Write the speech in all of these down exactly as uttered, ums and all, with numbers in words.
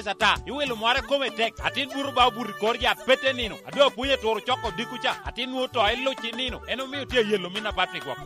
ata, iwilo mware kome tek, atin buto ba obuto i kor yat pete nino, a doŋ apwony aturo coko diko ca, atin nwoŋo to i luc i nino, en omio tye ayelo min apat i gwok.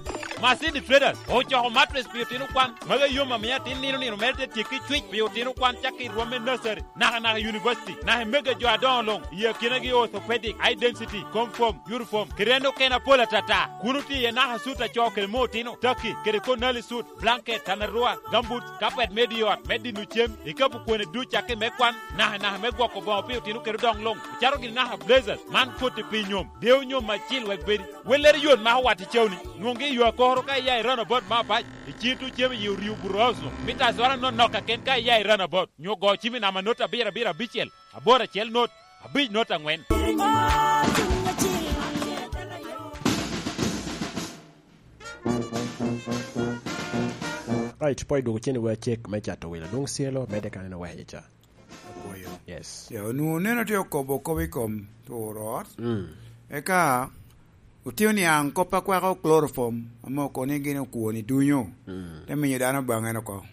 Masini Traders ocoko matres pi otino kwan, magi yom amio atin nino nino mere te tyekki cwic pi otino kwan cakki i rwom me nursery, naka naka i university, naka i mege jo adoŋo luŋ, i akinagi orthopedic, high density, confirm, uniform, kede en okene apol atata. Kun otye iye naka sut acoo kede me otino, taki, kede konali sut, blanket, tanarua, gambut, kapet me di ot, me dino cem, ikapu kwene duc cakki me kwan, naka naka me gwoko boŋo pi otino kede odoŋ luŋ, ocato gini naka blazers, man koti pi nyom, dewo nyom acil wek bedi. Wellere yot mako wat i cawni, nwoŋgi i yo akoro ka iya i roundabout me apac, i cito cem i orio buto oso, mita azora nonok kaken ka iya i roundabout, nyo go cimi nama not abiro abiro abicel, aboro acel not, abic not aŋwen. Right, po idwogo cen iwa cek me cato wilo. Dwong Cielo, medde kan en oweko ca. Apwoyo. Yes. Ya, onwoŋo neno tye okobo kop i kom turo ot. Mm. Eka otio niaŋ kop a kwako chloroform, ame okobo ni gin okwoni dunyo. Mm. Te miyo dano baŋe en oko.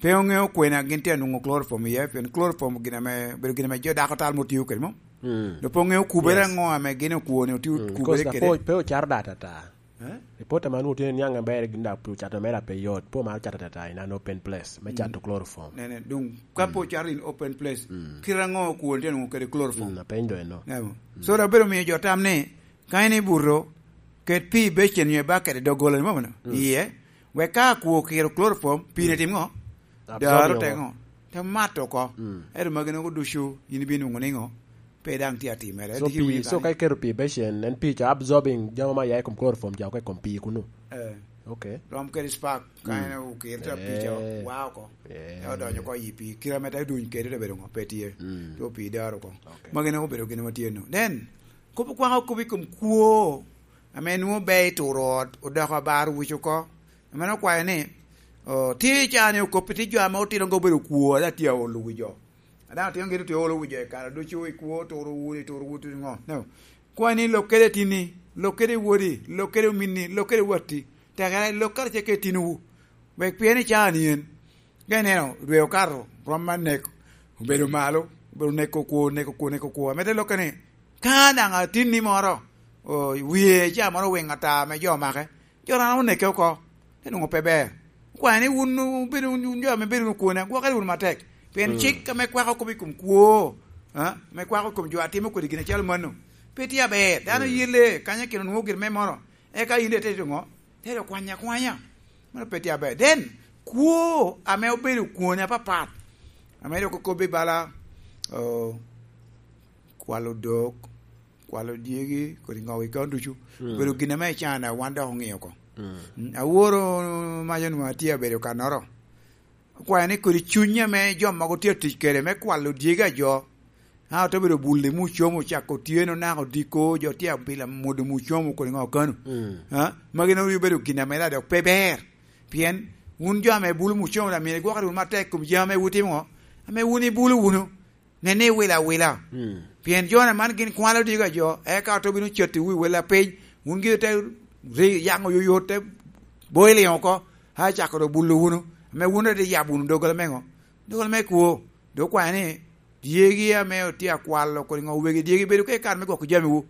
Pe oŋeo kwena gin tye anwoŋo chloroform iye, pien chloroform gin ame, obedo gin ame jo dako tal mo tio kede mo. Mm. Dok pe oŋeo kubere Yes. aŋo ame gin okwoni otio Mm, kubere because kede. Pe, pe ocaro data ata. Eh? Ripot ame anwoŋo tye niaŋ aber gin da pu cato mere pe yot, pe omaro cato ata in an open place, me Mm. cato chloroform. Nene, dong, ka Mm. pe ocaro in open place, Mm. kite aŋo okwoni tye nwoŋo kede chloroform? Mm, apeny do eno. Neno. Mm. So, da bedo miyo jo tam ni, ka in ibuto, ket pii i becen nyo i baket i doggola, ni mono? Mm. Iye, wek ka akwo okiro chloroform, pii ne tim ŋo? Absorb Daro oko. Te ŋo? Te mato oko. Mm. Ento magi nogo ducu, in ibino nwoŋo ni ŋo? Pe daŋ tye atimere. So, Diki pii, winyo so kany. Ka iketo pii i becen, en pii ca absorbing jami ma ya i kom chloroform ca oko i kom pii kunu. Eh. Okay. Rom kede spark, ka Mm. en okiro te pii ca Eh. wa oko. Eh. Te odonyo oko i pii. Kira me te duny kede te bedo ŋo? Pe tye. Mm. Te pii daro oko. Okay. Magi nogo obedo gin ma tye no. Then, kop okwako kop i kom kwo, ame nwoŋo ber i turo ot, odoko abar wuc oko. Ame okwayo ni, oh, tye i caa ni okop pi tye jo ame otino obedo kwo, ada tye aolo wi jo. A daŋ otino gin otye olo wi jo i kare ducu, i kwo, turo wunu, i turo wunu, ŋo? No. Kwa ni lok kede tinni, lok kede wodi, lok kede ominni, lok kede watti, tekere lok karacel kede tinwu, wek pien i caa ni en. Ka ineno dwe okato, rom me nek obedo malo, obedo neko kwo, neko kwo, neko kwo. Ame te lokke ni, ka daŋ atinni moro, o, wie ca moro owiŋo ata ame jo omake, jo daŋ oneke oko, te nwoŋo pe ber. Okwayo ni wun obedo wun jo ame bedo wunu kwona, gwokere wunu matek. Pien Mm. cik ame kwako kop i kom kwo, a, ame kwako i kom jo a timo kodi gin acalo mano, pe tye aber. Dano Mm. yelle kanya kino nwoŋo gin me moro, eka in daŋ ite tito ŋo? Te dok kwanya akwanya. Mano pe tye aber. Then, kwo ame obedo kwone apapat, ame dok okobbe bala, o, kwalo dok, kwalo dyegi, kodi ŋogi kano ducu. Mm. Obedo gin ame i cana wan dok oŋio oko. Mm. Mm, aworo mac onwoŋo atye abedo kannoro. Okwayo ni kodi cuny ame jo mogo tye atic kede me kwalo dyegi a jo, a, ote bedo bulle mucomo cako otyeno naka odiko, jo tye abila mudo mucomo kodi ŋo kano. Mm. A, magi nwoŋo rii obedo gin ame dok pe ber. Pien wun jo ame bulo mucomo, da myero igwokere wunu matek kom jami ame wutimo ŋo? Ame wun ibulo wunu. Nen ni iwilo awila. Mm. Pien jo-na man gin kwalo dyegi a jo, eka ote bino cati wi wel apiny, wun gin ote ri-, yaŋo yoyot, te boiling oko, a cako dok bulo wunu, ame wun ate yabo wunu doggola me ŋo? Doggola me kwo. Dok okwayo ni, dyegi ame otye akwalo kodi ŋo, wegi dyegi bedo ka i kare me gwoko jamiwu.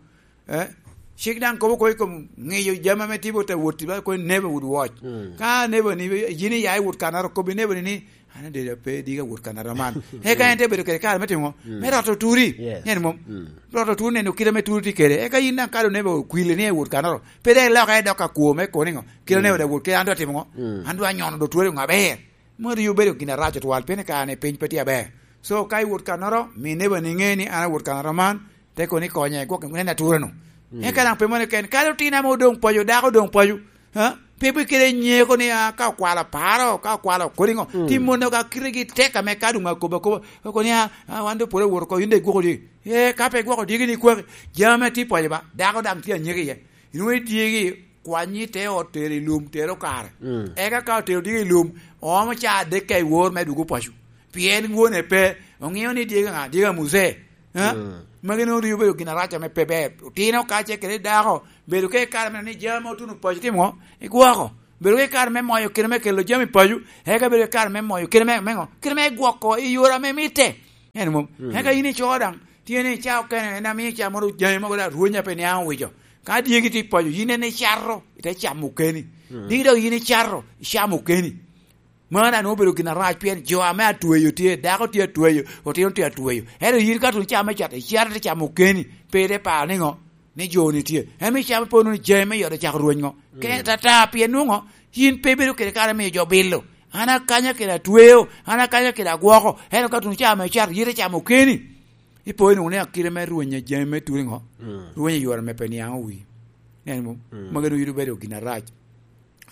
Eh? Cik daŋ kobo kodi i kom ŋiyo jami ame tye bot awot, ba kodi neighbor would watch. Mm. Ka neighbor ni, yin iya i wot kannoro, kobbi neighbor ni, "An adedo pe diga wot kannoro man." Eka en te bedo kede kare me timo ŋo? Mm. Me roto turi. Yes. Nen mom? Mm. Roto turi, neno kite ame turi tye kede. Eka yin daŋ ka doŋ neighbor okwili ni i wot kannoro, pe dek ilok aye dok ka kwo me koni ŋo? Kite Mm. neighbor dek wot kede, an doŋ atimo ŋo? Mm. An doŋ anyono do turi ŋo aber. Mano rii obedo gin arac otwal, pien i kare-ni piny pe tye aber. So, ka iwot kannoro, mi neighbor ni ŋe ni an awot kannoro man, te kono ikonye, gwok nen atura-nu. Mm. Eka daŋ pe mano keken, kadi otino ame odoŋ paco, dako odoŋ paco, ha? Pe bikele nyeko ni, ah, ka okwalo paro, ka okwalo kodi ŋo, Mm. ti mono ga kitegi tek ame ka doŋ akobo akoba, oko ni, ah, ah, wan doŋ pwod awot oko, yin daŋ igwoko dyegi. Eh, ka pe igwoko dyegi ni kwaki, jami ame tye paco ba, dako daŋ tye anyeko iye. Inwoŋo idyegi, kwanyi te ot, tero i lum, tero kare. Mm. Eka ka otero dyegi i lum, oomo caa adek ka i wor me dwogo paco. Pien wone pe, oŋeo ni dyegi ŋa, dyegi a muzee. Ha? Mm. Magi nwoŋo rii obedo gin arac ame pe ber. Otino kace kede dako, bedo ka i kare me ni jami ma otuno paco timo ŋo? Igwoko. Bedo ka i kare me moyo kite me kelo jami paco, eka bedo i kare me moyo kite me, me ŋo? Kite me gwoko i yore ame mitte. En mom. Mm. Eka in ico daŋ, tye ni ica okene, en amiyo ica moro jami mogo daŋ rwenya pe niaŋ owico. Ka dyegi tye paco, yin en icato, ite camo okeni. Mm. Dyegi dok yin icato, icamo okeni. Man daŋ obedo gin arac, pien jo ame atweyo tye, dako tye atweyo, otino tye atweyo. Ento yin ka tun camo me cat, icato ite camo okeni, pe ite paro ni ŋo? Ni jo-ni tye. En me camo pe onwoŋo jami me yot ocako rweny ŋo? Mm. Ke tata, pien nwoŋo yin pe ibedo kede kare miyo jo bilo. An akanya kede atweo, an akanya kede agwoko. Ento ka tun caa me cat, yite camo okeni. Ipo inwoŋo ni akite me rweny jami me tuli ŋo? Mm. Rweny i yore me pe niaŋ owi. Nen mo, mm, magi nwoŋo yito bedo gin arac.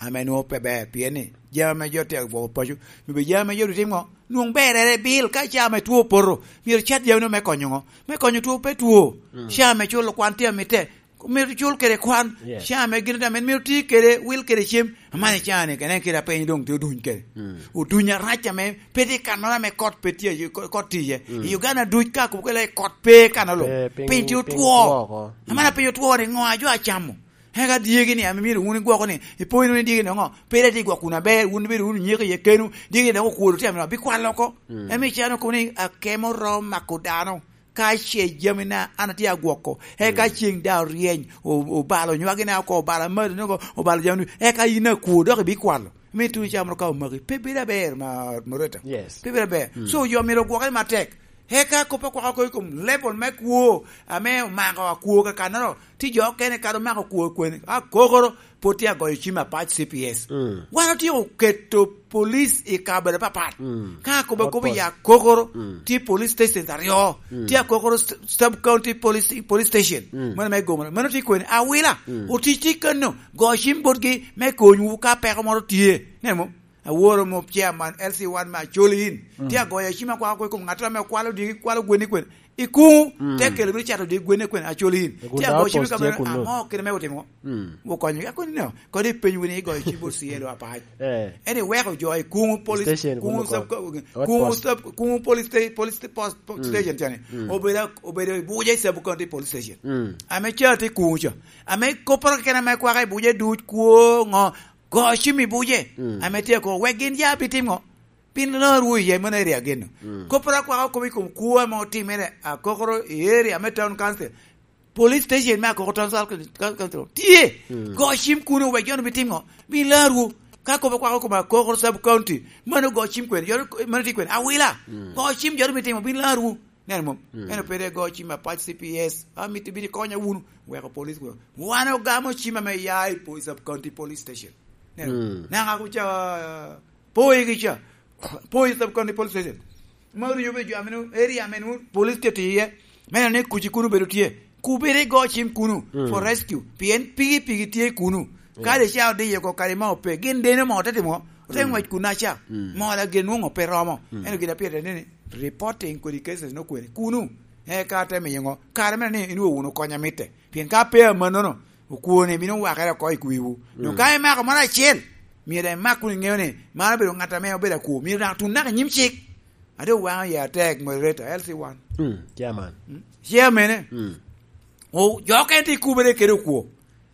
Ame nwoŋo pe ber, pien ni jami ame jo tye agwoko paco, myero bed jami ame jo tye timo ŋo? Nwoŋ berere bil, ka caa ame two opoto, myero cat jami me konyo ŋo? Me konyo two pe two. Mm. Caa ame culo kwan tye amitte, myero cul kede kwan. Yes. Caa ame gin ame myero ti kede, wil kede cem. Amani caa ni, kene kede apeny doŋ tye oduny kede. Mm. Oduny arac ame pe tye i kannoro ame kot pe tye, kot, kot tye iye. Mm. I Uganda duc ka kubo kele kot pe i kannoro. Pe, piny, piny tye piny otwo. Two oko. Amana piny otwo ni ŋo a jo acamo? Eka dyegi ni, ame myero wun igwoko ni, ipo wunu ni dyegi ni ŋo? Pe dati igwok wunu aber, wun ibedo wunu nyeko iye kenwu, dyegi dok okwodo tye amino, bikwalo oko. Mm. Emi cano kono ni akemo rom mako dano, ka ce jamina an atye agwoko, eka, mm, ceŋ daŋ oryeny, o-, obalo nywagina oko, obalo amado ni oko, obalo jamina, eka yin akwo dok ibikwalo. Mi tuno camo ka omaki, pe bedo aber, ma, Moreta. Yes. Pe bedo aber. Mm. So, jo myero ogwokke matek. Eka kop akwaka oko i kom level me kwo ame omako akwo kakannoro, ti jo okene kadi omako kwo kweni. Akokoro, pwod tye agoyo cim apac C P S. Mm. Wan otyeko keto police i kabedo apapat. Mm. Ka akobo akobo i Akokoro, mm, tye police stations aryo. Mm. Tye Akokoro s-, Sub County Police, Police Station. Mm. Mano me Gomoro. Mano tye kweni. Awila, mm, otic tye kano. Go cim botgi me konywu ka peko moro tye. Nen mo? Aworo mop chairman L C one me Acholi in. Mm. Tye agoyo cim akwako i kom ŋattoro ame kwalo diki, kwalo gwenni kwen. I kuŋu, mm, te kelo bino cato diki gwenni kwen Acholi in. Tye agoyo cim i kabedo aŋo kede me otimo? Mm. Okonyo. Ka koni no, kodi ipeny wini igoyo cim bot C L O apac. Eh. En iweko jo i kuŋu police, station kuŋu kuŋu sub, kuŋu outpost, sub, kuŋu police sta-, police sta-, post, post, mm, station cani. Mm. Obedo, obedo i Buja i sub county police station. Mm. Ame ca tye kuŋu ca. Ame kopporo keken ame kwaka i Buja duc kwo ŋo, go cim i Buja, mm, ame tye ako, wek gin ya bitimo ŋo? Bin lor wu iye, mano area geno. Mm. Kopporo akwaka okobo i kom kwo ame otimere Akokoro i area me Town Council. Police station me Akokoro Town Council tye. Mm. Go cim kuno, wek jo-nu bitimo ŋo? Bin lor wu. Ka kobo akwaka okobo Akokoro Sub County, mano go cim kwen, jo-nu, mano tye kwen. Awila. Mm. Go cim jo-nu bitimo, bin lor wu. Neno mom? Mm. Eno pede go cim apac C P S. Amito bino ikonya wunu. Weko police weko. Wan ogamo cim ame ya i po-, Sub County Police Station. Neno? Mm. Naka kuca, po igi ca. Po i Sub County Police Station. Ma oryo be jo ameno, area ameno, police tye tiye. Meno ni kuci kunu bedo tye. Kubere go cim kunu, mm, for rescue. Pien pigi, pigi tye kunu. Ka, yes, de ca odiyo ko kare ma ope. Gin deno mo te timo. Ote, mm, ngwec kun aca. Mm. Mola gin nwoŋo pe romo. Mm. Ento gin a pire ni, ni, reporting kodi cases no kwene. Kunu. Eka te miyo ŋo? Kare mene ni inwoŋo wunu kony amitte. Pien ka pe amannono, okwone bino wakere oko i kwiwu. Dok, mm, ka imako moro acel, myero imak kun iŋeo ni, man obedo ŋat ame obedo akwo. Myero daŋ tun naka i nyim cik. Ate waŋo ya atek, moderator, L C one. Mm, chairman. Mm, chairman-e. Mm. O, jo okene tye kubere kede okwo.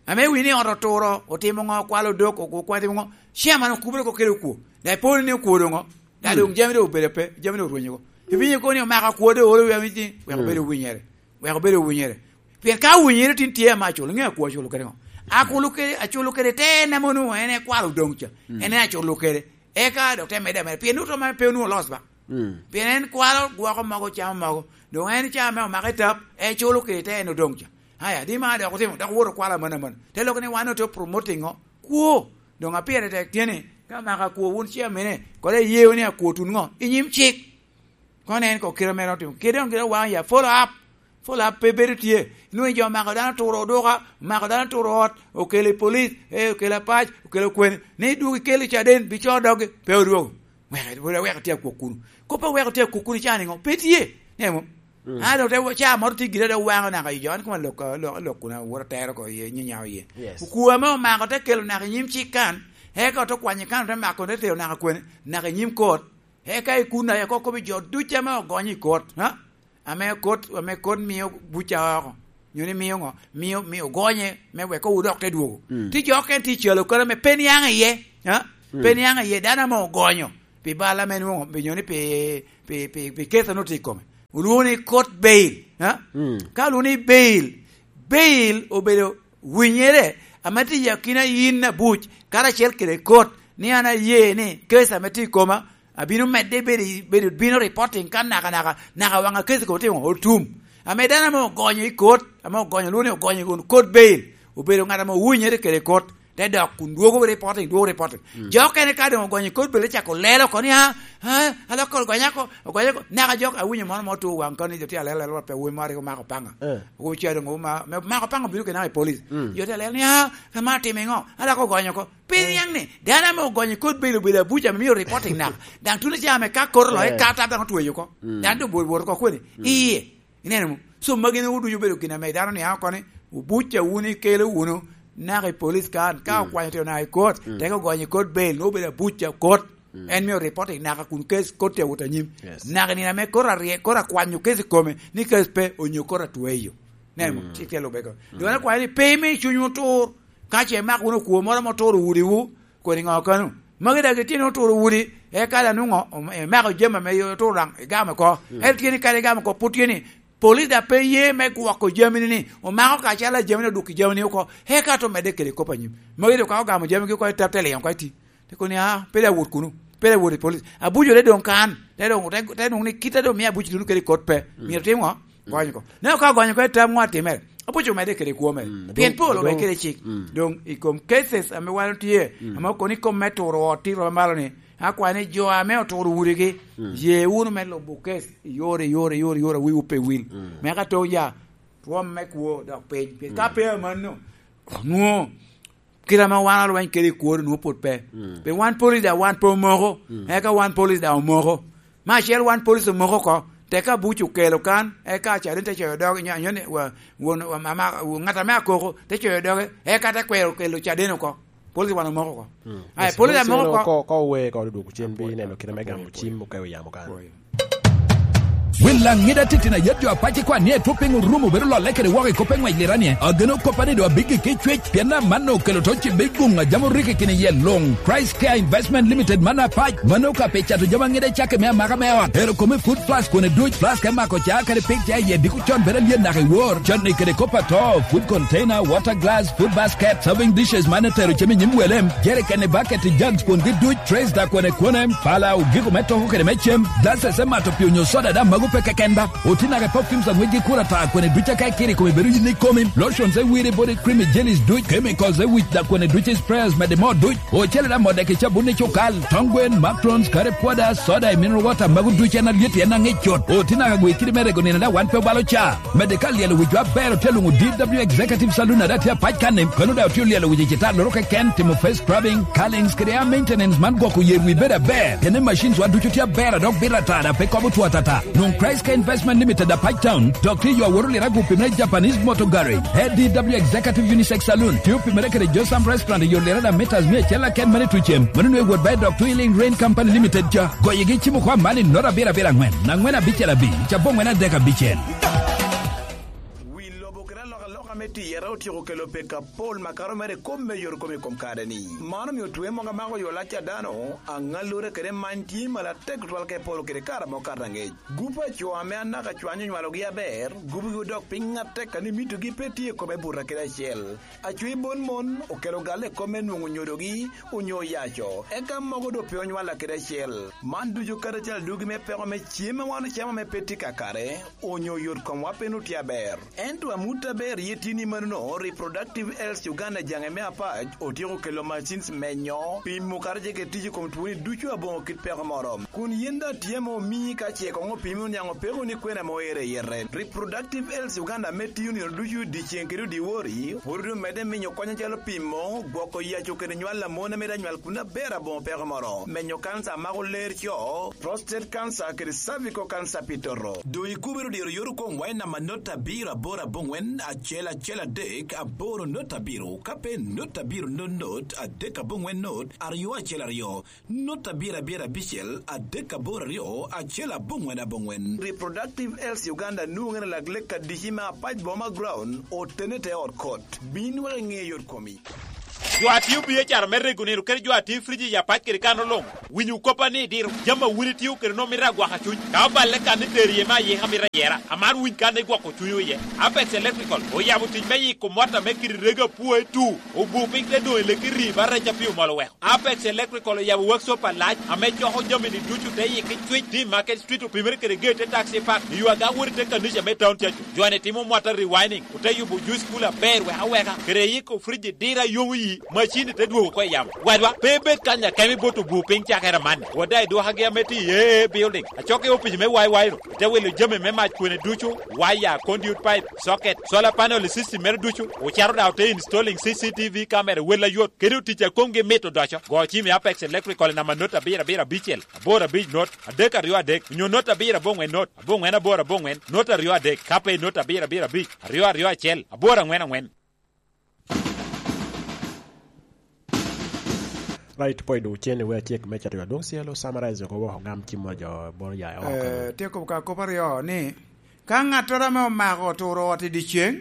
Ame winyo ni ot oturo, otimo ŋo, okwalo odok, o-, okwalo timo ŋo, chairman okubere oko kede okwo. Daŋ iponi ni okwo doŋ ŋo? Daŋ, mm, doŋ jami doŋ obedo pe, jami doŋ orwenyo oko. Iwinyo kono ni omako akwo doŋ oro wi amici, wek, mm, obedo winyere. Wek obedo winyere. Pien ka winyere tin tye ame aculo, ŋe akwo aculo kede ŋo? Akulo kede, aculo kede te en ame onwoŋo en ekwalo odoŋ ca. Mm. En en aculo kede. Eka dok te medde ameda. Pien nwoŋo to ma pe onwoŋo olos ba. Mm. Pien en kwalo gwoko mogo, camo mogo. Doŋ en ca ame omako i tap, eculo kede te en odoŋ ca. Aya, di ma dok otimo, dok owoto okwalo aman aman. Te loko ni wan otye promoting ŋo? Kwo. Doŋ apire tek tye ni, ka maka kwo wun chairman-e, kodi aye wunu ni akwo tun ŋo? I nyim cik. Kono en ko kite mere otimo. Kede doŋ gire waŋ ya, follow up. Follow up pe bedo tye. Nwoŋo jo mako dano turo oduka, mako dano turo ot, okelo i police, eh, okelo apac, okelo kwene. Ni dwogo ikelo i caden, bi co doggi, pe odwogo. Wek, wek, wek tye akwo kunu. Kop a wek tye akwo kunu ca ni ŋo? Pe tye. Ne mo? Mm. An dok te wa-, ca moro tye gire dok waŋo naka i jo, an kuma lok, lok, lok kuna wot atero ko iye, nyinya iye. Yes. Okwo ame omako te kelo naka i nyim cik kan, eka ote kwanyo kan, ote mako, te tero naka kwene, naka i nyim kot. Eka i kun aye ko-, kobo jo ducu ame ogonyo i kot, ha? Ame kot, ame kot mio buca oko. Nyo ni mio ŋo? Mio, mio ogonye me wek owudok te dwogo. Mm. Ti jo okene ti calo kare ame pe niaŋ iye, ha? Mm. Pe niaŋ iye, dano ame ogonyo pi bal ame nwoŋo, pi nyo ni pi, pi, pi, pi keto no tye i kome. Olwoŋo ni court bail, ha? Ka olwoŋo ni bail, bail obedo winyere ame tye i akina yin abuc karacel kede court, ni an aye ni case ame tye i koma abino medde bedo, bedo bino reporting ka nakanaka, naka waŋ a case kono tye otum. Ame dano ame ogonyo i court, ame ogonyo, olwoŋo ni ogonyo kun court bail, obedo ŋat ame owinyere kede court, te dok kun dwogo reporting, dwogo reporting. Jo okene ka doŋ ogonyo i court bail, cako lelo oko ni, "Ah, ah, aloko ogonya oko, ogonya oko." Naka jo awinyo mono mo tu waŋ koni, jo tye alelo, alelo pe wun mo ariko mako paŋa. Wuca doŋ wuma, me mako paŋa obino kede naka i police. Jo tye alelo ni, "Ah, kama atimo iŋo? Aloko ogonyo oko." Pe niaŋ ni, dano ame ogonyo i court bail obedo abuc ame mio reporting naka. Daŋ tuno ca ame ka court oloke, ka ata daŋ otweyo oko. Daŋ doŋ bwot, bwot oko kwene. Iye. Ineno mo? So, magi en ducu obedo gin ame dano niaŋ oko ni, obuc a wun ikelo wunu naka i police kan, ka okwanyo tye onaka i court, teke ogonyo i court bail, nwoŋo obedo abuc a court. En mio reporting naka kun case court tye awot anyim. Naka nino ame court arye-, court akwanyo case i kome, ni case pe, onyo court atweyo. Ineno mo? Cik tye lubbe ko. Doŋ akwayo ni pe imi cunywu otur, ka ce imako wunu okwo moro ame oturo wudiwu, kodi ŋo kano? Magi daŋ gitye ni oturo udi, eka daŋ nwoŋo om-, imako jami ame oturo daŋ igamo oko. Ento tye ni kadi igamo oko, pwod tye ni, police daŋ pe ye me gwoko jamini ni, omako kacel a jamini odwoko jamini oko, eka to medde kede kop anyim. Magi doŋ ka ogamo jamigi oko, i tap te liŋo oko iti. Te kono ni, "Ah, pe daŋ wot kuno, pe daŋ wot i police." Abuc ore doŋ kan, te doŋ, te, te nwoŋo ni kite doŋ mio abuc tuno kede kot pe. Myero tim ŋo? Gony oko. Neno ka ogony oko i tam ŋo atimere? Abuc omedde kede kwo mere. Pien pol omedde kede cik. Doŋ i kom cases ame wan otye, ame okono i kom me turo ot tito me malo ni, akwayo ni jo ame oturo udigi, ye wunu me lubo case i yore, i yore, i yore, i yore, a wiwu pe wil. Me ka toŋ ya, twom me kwo dok piny. Pien ka pe amanno, nwoŋo kite ame wan olweny kede i kworo nwoŋo pwod pe. Pien wan police daŋ wan pe omoko, eka wan police daŋ omoko. Me acel wan police omoko oko, teka abuc okelo kan, eka acaden te coyo doge, nyo, nyo ni, wa, won, wa, mama, ŋat ame akoko te coyo doge, eka te kwero kelo caden oko. Police wan omoko oko. Ai, police amoko oko. Ko, ko owe ko odwogo cen bi neno kite me gamo cim okewo yamo kan. Wel aŋida titino ayet jo apac ikwan ni etwo piny orumo bedo lolle kede woko i kop eŋwec liranie. Ageno koppa ni do abiggi ki cwec, pien amanno okelo to cibe i guŋ a jam orikki kine iye luŋ. Christ Care Investment Limited man apac, mano ka pe cato jami aŋida cakke me amaka me ot. Ero kome food plus kone duc, flask e mako ca kede pig ca iye diko con bedo alyen naka i wor. Can ni kede kop ato, food container, water glass, food basket, serving dishes man etero cem i nyim welem, jerikene, bucket, jugs, kwongi duc, trays da kwene kwene, pala, ogiko me toko kede me cem, glasses me mato pii onyo soda da mago pe keken ba. Oti naka perfumes aŋwec gi kura ta kwene duc aka ikiri kome bedo yin ikomi, lotions e wiri body cream jellies duc, chemicals e wic da kwene duc sprayers mede mo duc, ocele da modek i cabun i cukal, tong gwen, macrons, curry powder, soda e mineral water mago duc en alyet en aŋec cut. Oti naka gwe kidi me rego nino da wan pe obalo ca. Mede ka lyelo wicwa aber otye luŋo D W Executive Saloon a daŋ tye apac kanni, kano daŋ otye olyelo wic i citalloro keken, timo face scrubbing, curlings kede hair maintenance man gwoko yer wi bedo aber. Kene machines wa ducu tye aber a dok bito ata daŋ pe kobo two atata. Nwoŋ Christ Care Investment Limited apac town, dok tye yo awot oliro agu pimere Japanese Motor Garage. A D W Executive Unisex Saloon tye opimere kede Josam Restaurant i yo liro daŋ meters mia acel aken mane tucem. Mano nwe wot ba i dok Twilling Rain Company Limited ca. Goyigi cimo kwa mani nota abiro abiro aŋwen, aŋwen abicel abic, caboŋwen adek abicel. Wi lobo kede alokaloka me tiyere otyeko kelo pek apol makato mere i kop me yot kom i kom kare-ni. Man omio twe mogo amako yo lac a dano, aŋallure kede many tye malo atek tutwal ka i polo kede kare ame okato aŋec. Gup a co ame anaka cwany onywalogi aber, gupgi odok piny atek a ni mitogi pe tye i kome buto kede acel. Acwi bon mon okelo galle i kop me nwoŋo nyodogi onyo oyaco, eka mogo doŋ pe onywalla kede acel. Man ducu karacel adwogi me peko me cem a wan ocamo ame pe tye kakare, onyo yot komwa pe nwoŋo tye aber. Ento amut aber iye tye ni manono, Reproductive Health Uganda jaŋe me apac otyeko kelo machines menyo, pimo kara ce kede tic i kom twoni ducu aboŋo kit peko moro. Kun yin daŋ tye ame omii ka ce koŋ opimi oniaŋ opeko ni kwena ame oero i yete. Reproductive Health Uganda ame tiyo nino ducu dyeceŋ kede odyewor-ri, pwod omedde miyo kony acalo pimo, gwoko yaco kede nywal a mon ame daŋ nywal kun aber aboŋo peko moro, menyo kanca a mako ler co, prostate cancer kede cervical cancer pi toto. Doŋ ikubere odyero yot okoŋwa i namba not abiro aboro aboŋwen acel acel adek aboro not abiro, ka pe not abiro not not adek aboŋwen not aryo acel aryo. Not abiro abiro abicel adek aboro aryo acel aboŋwen aboŋwen. Reproductive Health Uganda nwoŋere lak lek adici me apac boma ground otene te ot kot. Bin wek iŋe yot komi. Jo a tio biacara me rego nino kede jo a tio i friji i apac kede kan oloŋo, winyo koppa ni diro jami a wun itio kede nwoŋo mito agwaka cuny. Ka oballe kan itero iye me ayika mito ayera, amaro winy kan igwoko cunywu iye. Apex Electrical oyabo tic me yiko mot ame kite rego apwoe tu, obu piny te doŋ i leki rii ba rec a pi omol oweko. Apex Electrical oyabo workshop alac ame coko jami-ni ducu te yiki cwic, tim Market Street opimere kede geyi te taxi park, i yo aga wot i te kanica me town cacu. Jo-ni timo mota rewinding, ote yubo juice cooler aber wek aweka, kede yiko friji dira yomo yi, macin-ni te dwogo oko i yamo. Wadwa, pe ibed kany akemo ibot obu piny cakere amanni. Wada idwokagi ame tye i A A Building, acok i opic me Y Y ru, ite wilo jami me mac kwene ducu, waya, conduit pipe, socket, solar panel i system mere ducu, ocato daŋ ote installing C C T V camera wel ayot, kede otic a komgi mit odoco. Go cim i Apex Electrical i namba not abiro abiro abicel, aboro abic not, adek aryo adek, onyo not abiro aboŋwen not, aboŋwen aboro aboŋwen, not aryo adek, ka pe not abiro abiro abic, aryo aryo acel, aboro aŋwen aŋwen. Right, point ocen i wer cek me cato adwoŋ cielo, summarize oko woko gam cim wa jo boro ya oko. Eh, tye kop ka kop aryo ni, ka ŋattoro ame omako oturo ot i dyeceŋ,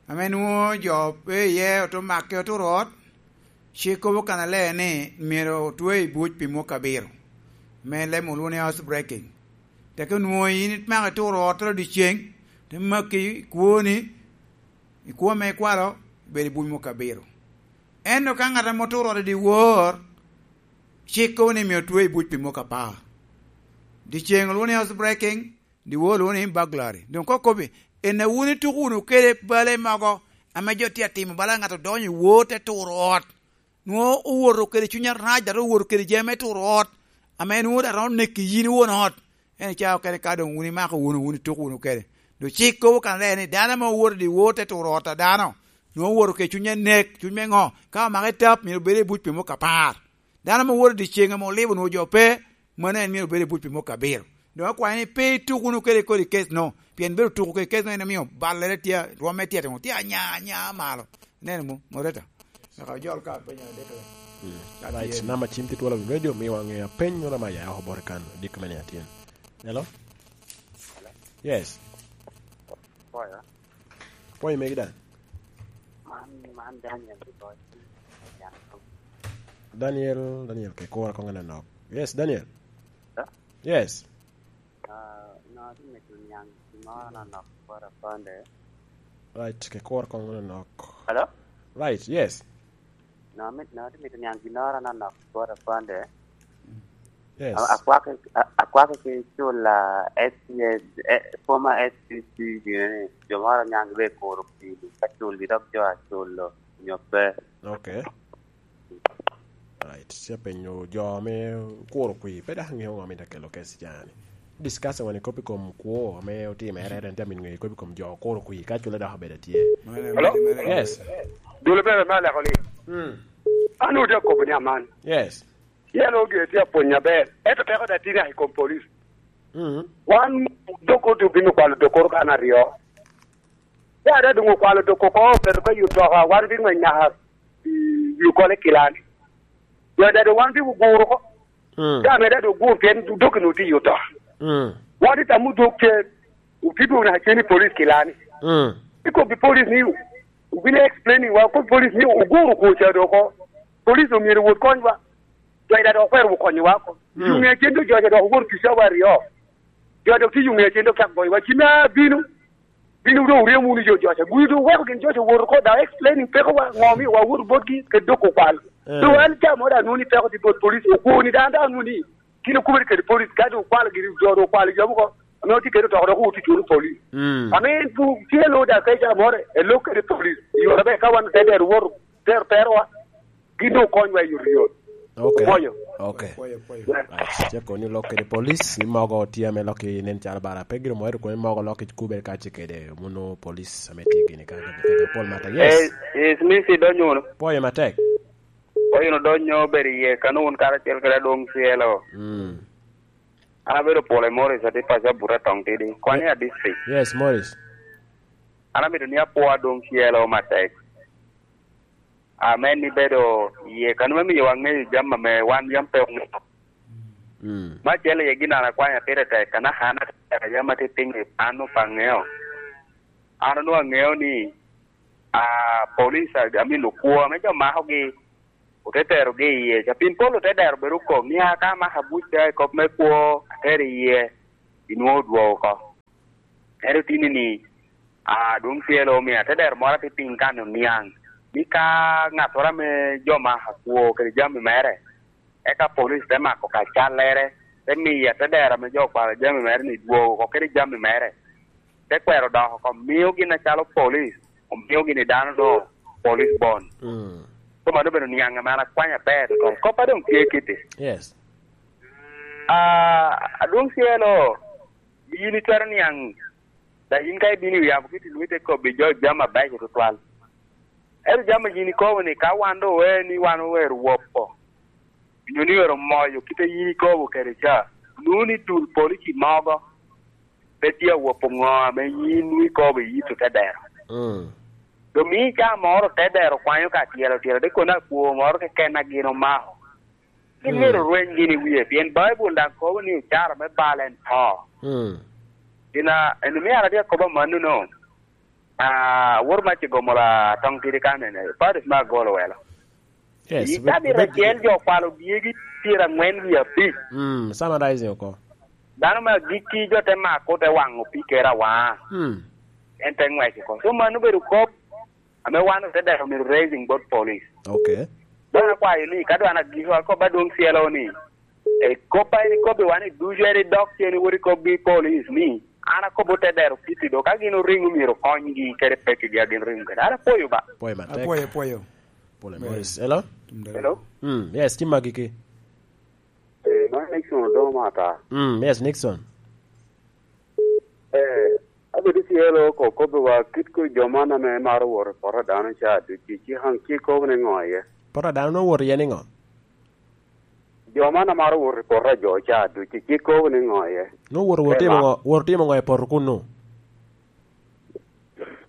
ame nwoŋo jo pe iye ote make oturo ot, cik kobo kannaler ni myero otwe i buc pi mwaka abiro, me leb olwoŋo ni house breaking. Teke onwoŋo in imako ituro ottoro dyeceŋ, te maki i kwoni, i kwo ame ikwalo, ibedo i buc mwaka abiro. Ento ka ŋat ame oturo ot i dyewor, cik kobo ni myero otwe i buc pi mwaka apar. Dyeceŋ olwoŋo ni house breaking, dyewor olwoŋo ni burglary. Doŋ koŋ kobbi, en a wun ituko wunu kede bale mogo ame jo tye atimo, bala ŋat odonyo i wor te turo ot, nwoŋo owoto kede cuny arac, dok owoto kede jami me turo ot, ame nwoŋo daŋ romo neki yin won ot. En icaa okene ka doŋ wun imako wunu, wun ituko wunu kede. Doŋ cik kobo kannaler ni dano ame owoto i dyewor te turo ot a dano, nwoŋo owoto kede cuny anek, cuny me ŋo? Ka omake tap, myero obed i buc pi mwaka apar. Dano ame owoto i dyeceŋ ame olibo nwoŋo jo pe, mano en myero obed i buc pi mwaka abiro. Doŋ akwayo ni pe ituk wunu kede kodi kes-nu, pien bedo tuko kede kes-nu en omio ballere tye, rwomme tye atimo, tye anya, anya malo. Ineno mo, Moreta? Eka ojol ka apenyo adek. Mm. Right, namba cim tye twolo radio, miwa ŋe apeny, nyo namba ya oko bot kan, dikko me nino atyen. Hello? Yes. Pwoyo. Pwoyo megi daŋ. Man, man Daniel Kiboc. Daniel, Daniel, ke kura koŋ anonok. Yes, Daniel. Hello? Yes. Ah, no, atye mito niaŋ gin moro anonok bot aponde. Right, ke kura koŋ anonok. Hello? Right, yes. No, mit-, no, atye mito niaŋ ginnoro anonok bot aponde. Yes. A-, akwaki, a-, akwaki ki cul, ah, S C S, eh, former S C C gini, jo moro oniaŋ gire kuro pii, ka cul gi dok jo aculo, nyo pe. Okay. Right. Tye apenyo jo ame kuro kwir, pe dok aŋeo ŋo amito akelo kec i caa-ni. Discuss wani kop i kom kwo ame otimere, en tye amito ŋeyo kop i kom jo kuro kwir, ka cule dok obedo atye. Hello? Yes. Dul bene me aleko ni. Mm. An odi akobo ni aman. Yes. Yalo oge tye apwony aber. Ento peko da tye i kom police. Mm. Wan dok oti obino kwalo dok koro kan aryo. Ya da doŋ okwalo dok oko, obedo ka yuto ka, wan bingweny naka i wi okole kilani. Wek daŋ wan biguro oko. Mm. Ka ameda doŋ ogur pien dok onwoŋo tye i oto. Mm. Wan tye tamo dok cer, otye dwogo naka cen i police kilani. Mm. Ikobbi police ni, obino explaining wa, okobbi police ni oguro kwo ca dok oko. Police omyero owot konywa. Wek daŋ dok okwero okonyowa oko. Mm. Yo ŋe cen dok jo ca dok owoto tic cawa aryo. Jo dok tye yo ŋe cen dok cak goyowa. Cim abino. Bino doŋ oryemo wunu jo joca. Gudi doŋ oweko gin joca owoto oko, daŋ explaining pekowa, ŋo omio wawoto botgi, kede dok okwal. Eh. Doŋ an ca mo daŋ anwoŋo ni peko tye bot police, okwo ni daŋ, daŋ anwoŋo ni, kin okubere kede police, ka doŋ okwalo gini, jo doŋ okwalo jo mogo, ame otye kede otoko dok owot i culo police. Mm. Ame en pu-, tye lo daŋ ka ca moro, elok kede police, i yore aber ka wan te dero woto, dero perowa. Gin doŋ okonywa i yot yot. Ok. Pwoyo. Ok. Pwoyo, pwoyo. Right. Ceko ni olok kede police, i mogo tye ame lok i nen calo bara. Pe gire mo ero koni mogo lok i kubere ka ce kede munu police ame tye gini ka, ka, ka, ka pol mata. Yes. Eh, yes, miss, idonyo wunu. Pwoyo matek. Pwoyo no donyo bedo iye, kano wun karacel kede adwoŋ cielo. Mm. An abedo pwolo i Morris, atye paco Abuta Toŋ Tidi. Kwan i a district. Yes, Morris. An amito ni apwo adwoŋ cielo matek. Amen, ibedo iye. Kano me miyo waŋeyo jami ame wan yam pe oŋeo. Mm. Me acel iye gin an akwanyo atire tek, kana an atye tek, yam atye piny i pan opa ŋeo. An onwoŋo aŋeo ni a, police, a, I mean, okwo ame jo makogi, ote terogi iye. Capin Paulo te dero bedo okok ni, "A, ka amako abuc ca i kop me kwo, atero iye, inwoŋo odwogo oko." Ento tini ni, a, dwon cielo omio atedero moro atye piny kan oniaŋ, ni ka ŋattoro ame jo mako akwo kede jami mere, eka polic te mako ka callere, te miyo atedero ame jo okwalo jami mere ni dwogo oko kede jami mere, te kwero dok oko, mio gin acalo polic, omio gini dano no police bond. Mm. So mano obedo niaŋ ame an akwanyo aber tutwal. Kop a doŋ tye kiti. Yes. A, adwoŋ cielo, yin itwero niaŋ, dok yin ka ibino i wi yamo kiti, nwoŋo ite kobbi jo jami abeco tutwal. Ento jami a yin ikobo ni, ka wan doŋ owe ni wan owero wopo, nyo ni owero moyo kite yin ikobo kede ca, nwoŋo ni dul polici mogo pe tye awopo ŋo ame yin nwoŋo ikobo i yit otedero. Mm. Doŋ mio ca moro otedero kwanyo ka tyelo tyelo, de kono akwo moro keken a gin omako. Gin myero orweny gin i wie, pien Baibul daŋ kobo ni ocara me bal en to. Mm. Gin a, en omio an atye akobo amannono. Ah, wor mac i Gomola toŋ tidi kan en, Paris me agolo welo. Yes, i cabit acel jo okwalo dyegi pyeraŋwen wie abic. Mm, summarizing oko. Dano me agikki jo te mako, te waŋo pii kere awaŋa. Mm. En te ŋwec oko. So mano obedo kop ame wan ote dero myero raising bot police. Okay. Dok akwayo ni, ka dwan agiko, akob adwoŋ cielo ni, e, kop a en ikobbi wan i ducu, en idok cen iwot ikobbi police ni, an akobo te dero kiti do, ka gin oriŋo myero okonygi kede pekigi a gin oriŋo kede. An apwoyo ba. Pwoyo matek. Apwoyo, apwoyo. Pole Moses. Hello? Hello? Mm, yes, tim magi ki. Eh, man Nixon Odoma ata. Mm, yes, Nixon. Eh, abedo cielo ko kobbiwa kit ko jo man ame maro woro i poto a dano ca ducu, ci haŋ ci kobo ni ŋo iye? Poto a dano nwoŋo woro iye ni ŋo? Jo man amaro woro i poto a jo ca ducu, ci kobo ni ŋo iye? Nwoŋo woro, woro timo ŋo, woro timo ŋo i poto kunnu?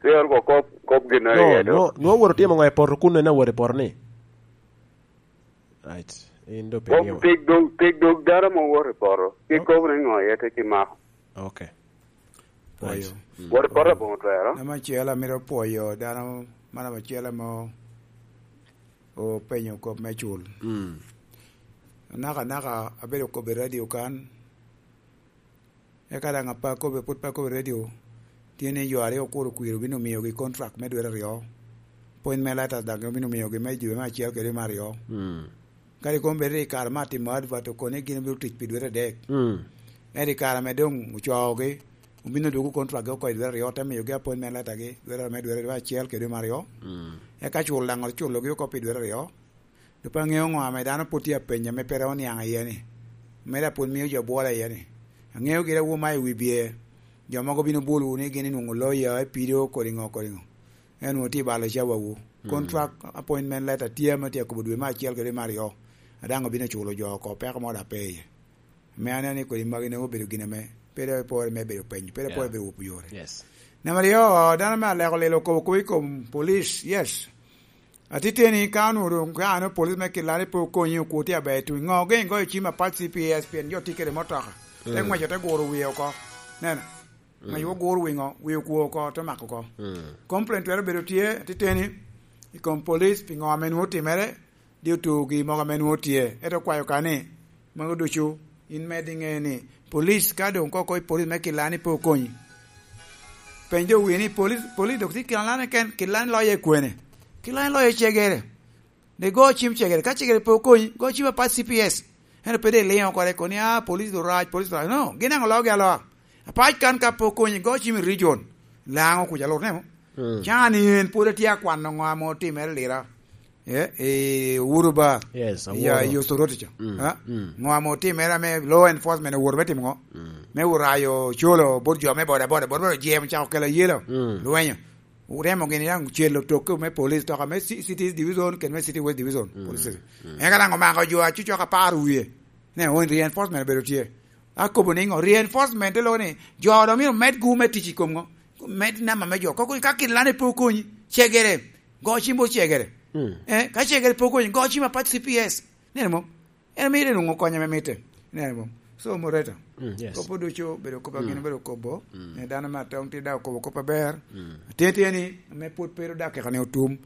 Cielo ko kop, kop gin no iye do. No, nwoŋo woro timo ŋo i poto kunnu, en aworo i poto ni? Right. In do pe. Kop pig dog, pig dog dano mo woro i poto. Ci kobo ni ŋo iye te ci mako. Okay. Pwoyo. Right. Mm. Wot i poto aboŋo twero. Namba acel, amito pwoyo dano, man namba acel ame openyo kop me cul. Mm. Anaka anaka abedo kobbe i radio kan, eka daŋ apa kobbe, pwod pe akobo i radio, tye ni jo aryo okuro kwir obino miyogi contract me dwe aryo. Appointment letters daŋ obino miyogi me dwe me acel kede me aryo. Mm. Kadi kono bed i kare me atimo advert, okobo ni gin obino tic pi dwe adek. Mm. Ento i kare ame doŋ ocoogi, obino dwogo contract gi oko i dwe aryo, te miyogi appointment letter gi, dwe aryo me dwe, dwe acel kede dwe me aryo. Mm. Eka cul daŋ oculogi oko pi dwe aryo. Doŋ pe aŋeo ŋo ame dano pwod tye apenya ame pe ro niaŋ iye ni. Mere apwod mio jo bwolo iye ni. Aŋeo gire awo ma i wi bye. Jo mogo bino bolowu ni gin inwoŋo loya, ipido, kodi ŋo, kodi ŋo. En onwoŋo tye i balo cawawu. Mm. Contract appointment letter tye ame tye akobo dwe me acel kede dwe me aryo. A daŋ obino culo jo oko, peko mo daŋ pe iye. Me aneno ni kodi magi nwoŋo obedo gin ame pe dok ipore me bedo penyo, pe dok ipore bedo wopo yore. Yes. Namba aryo, dano me aleko lelo okobo kop i kom police, yes. Atiteni ka onwoŋo doŋ ka an police me Kilani pe okonyi, okwo tye aber, tuŋ ŋo gin igoyo cim apat C P S pien jo tye kede motoka. Te, mm, ŋweco te guro wie oko. Neno. Ŋec wo gur wiŋo, wi okwo oko, te mako oko. Mm. Complaint twero bedo tye, atiteni, i kom police, pi ŋo ame nwoŋo otimere, di otugi mogo ame nwoŋo tye. Ento okwayo ka ni, mago ducu, in med iŋe ni, police ka doŋ koko i police me Kilani pe okonyi. Peny jo wie ni, police, police dok tye Kilani keken, Kilani loye kwene? Kilani loye cegere. De go cim cegere, ka cegere pe okonyi, go cim apat C P S. Ento pe de iliŋo kore, koni, "Ah, police orac, police orac." No, gin daŋ ologi aloa. Apac kan ka pe okonyi, go cim i region. Laŋo kuca lur nemo. Mm. Can en pwod atye akwano ŋo ame otimere Lira. Eh, eh, Uhuru Bar. Yes, ya, Uhuru. Yo Soroti ca. Mm, ha? Mm. Ŋo ame otimere ame law enforcement oworo me timo ŋo? Mm. Me orayo colo bot jo me boda boda, boda boda jemo cako kelo yelo. Mm. Lwenyo. Oremo gini daŋ celo tokke me police, toka me Ci-, City East Division kede me City West Division, mm, police station. Mm. Eka daŋ omako jo acucok apar wie. Ne, o, reinforcement obedo tye. Akobo ni ŋo? Reinforcement te loko ni jo dok myero med gu me tic i kom ŋo? Med namba me jo. Koko ka Kilani pe okonyi, cegere. Go cim bot cegere. Mm. Eh, ka cegere pe okonyi, go cim apat C P S. Neno mo? En mito nwoŋo kony ame mitte. Ineno mo? So, Moreta, mm, yes, kop ducu obedo kop a gin obedo kobo, mm, ne dano me atong tye daŋ okobo kop aber. Mm. Tye, tye ni, ame pwod pe ru daŋ keka ni otum.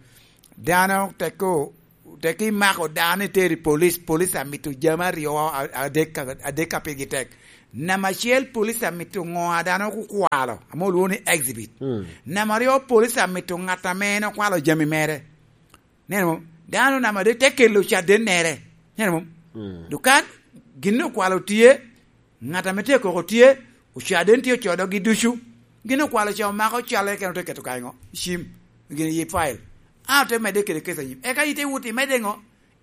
Dano teko, teko imako dano itero i police, police amito jami aryo, a-, adek ka, adek ka pigi tek. Namba acel, police amito ŋo a dano okukwalo, ame olwoŋo ni exhibit. Mm. Namba aryo, police amito ŋat ame en okwalo jami mere. Neno mo? Dano namba adek te kelo cadennere. Neno mo? Mm. Dukan, gin okwalo tye, ŋat ame tye koko tye, ocaden tye ocodogi ducu. Gin okwalo ca omako calle kene ote keto kanyo, i cim, gin i file. A ote medde kede kec anyim. Eka ite wot imedde ŋo?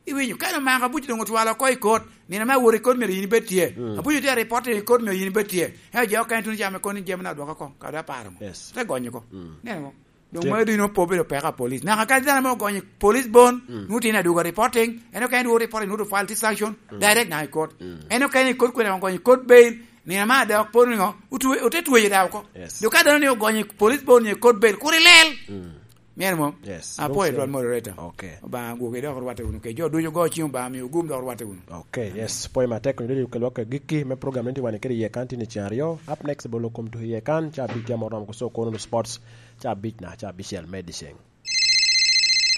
Iwinyo, ka omako abuc doŋ otwalo oko i kot, nino me awot i kot myero yin ibed tye. Mm. Abuc otye a reporting i kot myero yin ibed tye. Ento jo okene tuno ca me kono jami na odwoko oko, kadi aparo mo. Yes. Te gonyo oko. Mm. Neno mo? Doŋ mano dino po bedo peko a police. Naka kadi dano ame ogonyo police bon, mm, nwoŋo tye i Nadwoga reporting, en okene dwogo reporting, nwoŋo file tye sanction, mm, direct naka i kot. Mm. En okene i kot kwene ogonyo i kot bail, nino ma dok po niŋo, otwe-, ote tweyo daŋ oko. Yes. Dok ka dano ni ogonyo i police bon nyo i kot bail, kur ilel. Mm. Myero mo? Yes. Apwoyo twal moderator. Okay. Obaŋa gwoki dok orwatte wunu. Ke jo ducu go ciŋ Obaŋa mio gum dok orwatte wunu. Okay, yes. Pwoyo matek, onyo dodi okelwa ka gikki me program ni tye wan kede iye kan tye ni cen aryo. Up next, bolo kom tuko iye kan, ca big jam oromo kuso kono sports. Ca abic na, ca abicel me dyeceŋ.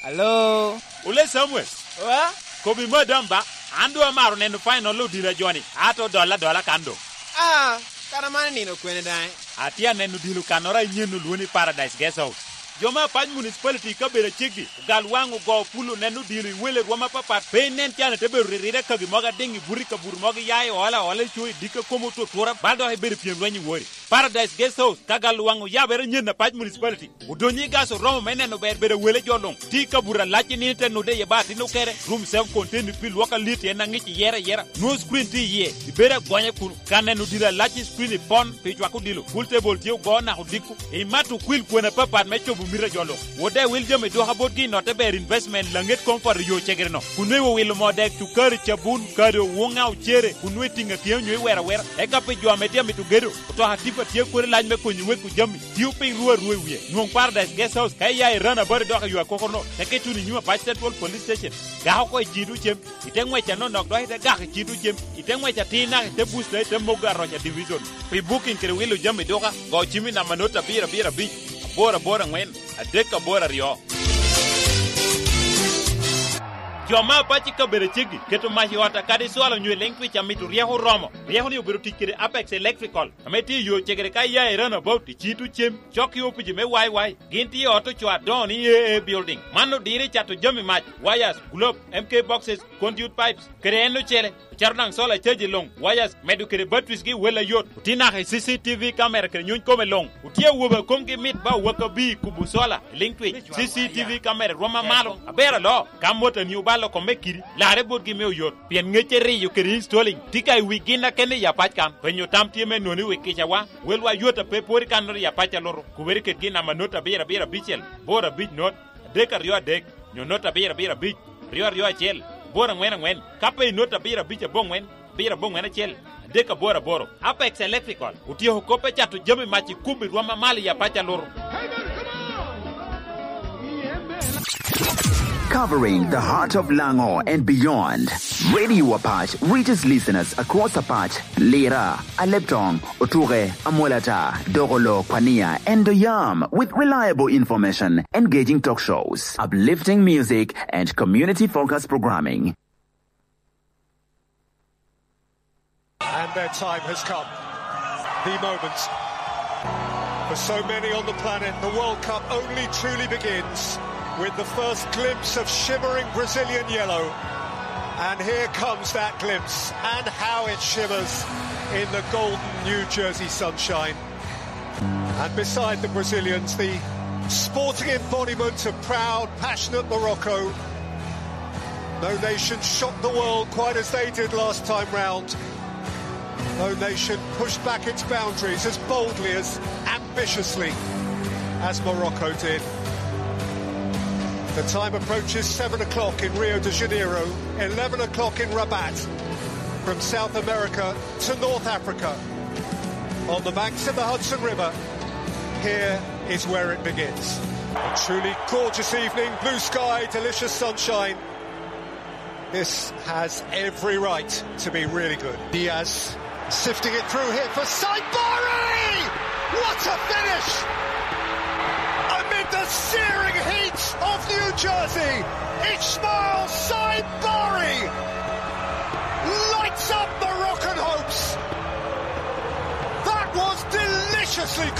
Alo? Ole Samuel. Wa? Kobi madam ba, an doŋ amaro neno final odilo a joni, ato odolla adola kan doŋ. Ah, kara man nino kwene daŋ? Atye aneno odilo kannoro a inyen olwoŋo ni Paradise Guest House. Jo me Apac Municipality i kabedo aceggi, ogal waŋ ogo pul oneno odilo i wele rwom apapat, pe inen can ite bedo riride kagi mogo adiŋ i buto i kabuto mogo iya i ola ola i co i dikka komi otutura, bal dok ibedo i pyem lweny i wori. Paradise Guest House, ka gal waŋ oyabere anyen Apac Municipality. Odonyo i gas oromo me neno ber bedo wele jo luŋ. Tye i kabuto alac i nino te nude iye ba atin okere. Room self contained pi lwok alit en aŋic iyere ayera. Nwoŋo screen tye iye. Ibedo agonya kuno. Ka neno odilo alac i screen ipon pi cwako odilo. Pool table tye ogo naka odiko. Imato okwil kwena apapat me cobo mito a jo luŋ. Wode wil jami dwoka botgi i notte ber investment laŋet koŋ poto yo cegere no. Kun nwoŋo iwilo moo dek, cukari, cabun, kado, wuŋa, ocere, kun nwoŋo itiŋo atiŋa onyo iwero awera. Eka pi jo ame tye amito gedo, otoka tipa tye kodi lac me konyo weko jami. Tio piny ruu aruu i wie. Nwoŋ Paradise Guest House ka iya i Rana Bari dok i yo akoko no, teke tuno i nyim Apac Central Police Station. Gako oko i cito cem, ite ŋwec anonok dok ite gako i cito cem, ite ŋwec atir naka ite busta ite mogo aroca division. Pi booking kede wilo jami duka, go cim i namba not abiro abiro abic, aboro aboro aŋwen, adek aboro aryo. Jo me Apac i kabedo aceggi keto mac i ot akadi cwalo onyo i leŋ twic amito ryeko oromo. Ryeko ni obedo tic kede Apex Electrical. Ame tye i yo cegere ka iya i Roundabout, i cito cem, cok i opici me Y Y. Gin tye i ot ocoo adoŋo ni A A Building. Man odiro i cato jami mac, wires, globe, M K boxes, conduit pipes, kede en ocele. Ocato daŋ solar charge i luŋ, wires, medo kede batteries gi wel ayot. Otye naka i C C T V camera kede nyuny kome luŋ. Otye awobe a komgi mit ba owaka bi i kubo solar, i liŋ twic. C C T V camera rwom amalo, aber aloo. Ka motani obalo oko me kidi, larre botgi me oyot, pien ŋecce riyo kede installing tye ka i wi gin akene i Apac kan. Penyo tam tye me nwoŋo i wi kicawa, welwa yot a pe pwod i kannoro i Apac alutu, kubere kedgi i namba not abiro abiro abicel, boro abic not, adek aryo adek, nyo not abiro abiro abic, aryo aryo acel, boro aŋwen aŋwen, ka pe i not abiro abic aboŋwen, abiro aboŋwen acel, adek aboro aboro. Apex Electrical otyeko kop me cato jami mac i kubo i rwom amalo i Apac alutu. Covering the heart of Lango and beyond, Radio Apac reaches listeners across Apac, Lira, Aleptong, Otuke, Amolata, Dogolo, Kwania, and Doyam with reliable information, engaging talk shows, uplifting music, and community-focused programming. And their time has come. The moment. For so many on the planet, the World Cup only truly begins with the first glimpse of shimmering Brazilian yellow. And here comes that glimpse, and how it shimmers in the golden New Jersey sunshine. And beside the Brazilians, the sporting embodiment of proud, passionate Morocco. No nation shocked the world quite as they did last time round. No nation pushed back its boundaries as boldly, as ambitiously as Morocco did. The time approaches seven o'clock in Rio de Janeiro, eleven o'clock in Rabat. From South America to North Africa, on the banks of the Hudson River, here is where it begins. A truly gorgeous evening, blue sky, delicious sunshine. This has every right to be really good. Diaz, Sifting it through here for Saibari! What a finish! Amid the searing heat of New Jersey, Ismail Saibari lights up Moroccan hopes. That was deliciously